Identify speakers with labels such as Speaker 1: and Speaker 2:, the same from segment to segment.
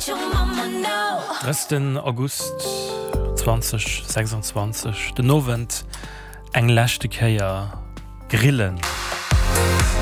Speaker 1: 30. August 2026, den Owend eng leschte Kéier grillen.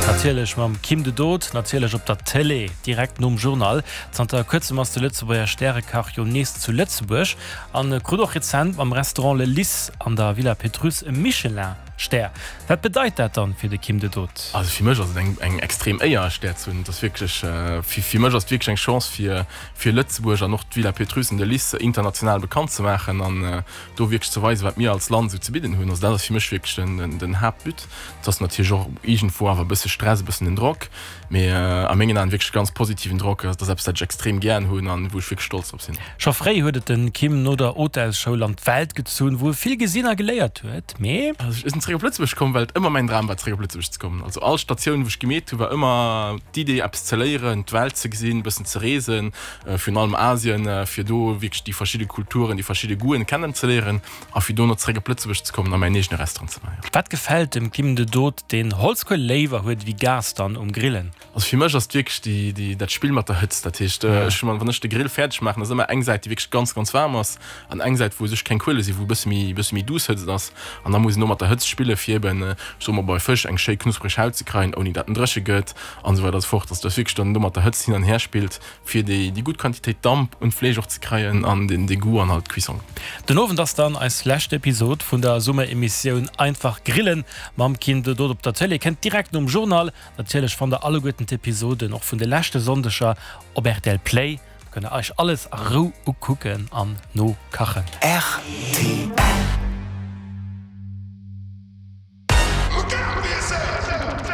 Speaker 1: Natierlech mam Kim de Dood, natierlech op der Tëlee, direkt nom Journal. Zanter kuerzem ass de Lëtzebuerger Stärekach jo nees zu Lëtzebuerg an krut och rezent mam Restaurant Le Lys an der Villa Pétrusse e Michelin-Stär. Wat bedeit dat dann fir de Kim de Dood?
Speaker 2: Also fir mech ass et eng eng extrem Éier e Stär ze hunn. Et ass wierklech, fir fir mech ass et wierklech eng Chance fir fir Lëtzebuerg an och d'Villa Pétrusse an de Lys international bekannt ze maachen an do wierklech ze weisen, wat mir als Land esou ze bidden hunn. Also dat ass fir mech wierklech den den Haaptbut. Et ass natierlech och iergendwou awer e bësse Stress, e bëssen den Drock, mee a mengen Aen wierklech ganz positiven Drock. Dat ass eppes, dat ech extrem gären hunn an wou ech wierklech stolz drop sinn.
Speaker 1: Scho fréi huet et den Kim no der Hotelsschoul an d'Welt gezunn, wou e vill gesinn a geléiert huet. Mee.
Speaker 2: Also ech sinn zeréck op Lëtzebuerg komm, well et ëmmer mäin Dram war zeréck op Lëtzebuerg ze kommen. Also all Statioun wou ech gemeet hunn, war ëmmer d'Idee eppes ze léieren, d'Welt ze gesinn, e bëssen ze reesen, virun allem Asien, fir do wierklech déi verschidde Kulturen, déi verschidde Goûten kennenzeléieren a fir dono zeréck op Lëtzebuerg ze kommen a mäin eegene Restaurant ze maachen.
Speaker 1: Wat gefält dem Kim de Dood, deen Holzkuel léiwer huet ewéi Gas dann um Grillen?
Speaker 2: Also fir mech ass et wierklech déi, déi, dat Spill mat der Hëtzt. Dat heescht, ech hunn, wann ech de Grill fäerdeg maachen, ass ëmmer eng Säit, déi wierklech ganz, ganz waarm ass an eng Säit, wou u sech keng Kuele sinn, wou e bësse méi, e bësse méi duuss Hëtzt ass. An da muss een do mat der Hëtzt spillen, fir eben, ech soe mol, bei Fësch eng schéi knuspreg Haut ze kreien, ouni dat en dréche gëtt an esou weider a sou fort. Also dass wierklech dann do mat der Hëtzt hin an her spillt, fir déi, déi gutt Quantitéit Damp un d'Fleesch och ze kreien an den, de Goût an halt d'Cuisson.
Speaker 1: Den Owend ass dann eis lescht Episod vun der Summeremissioun Einfach grillen mam Kim de Dood op der Tëlee. Kënnt direkt nom Journal. Natierlech fannt der alleguerten d'Episoden och vun de leschte Sonndeger op rtl Play. Da kënnt der eich alles a Rou ukucken an nokachen.
Speaker 3: Rtl.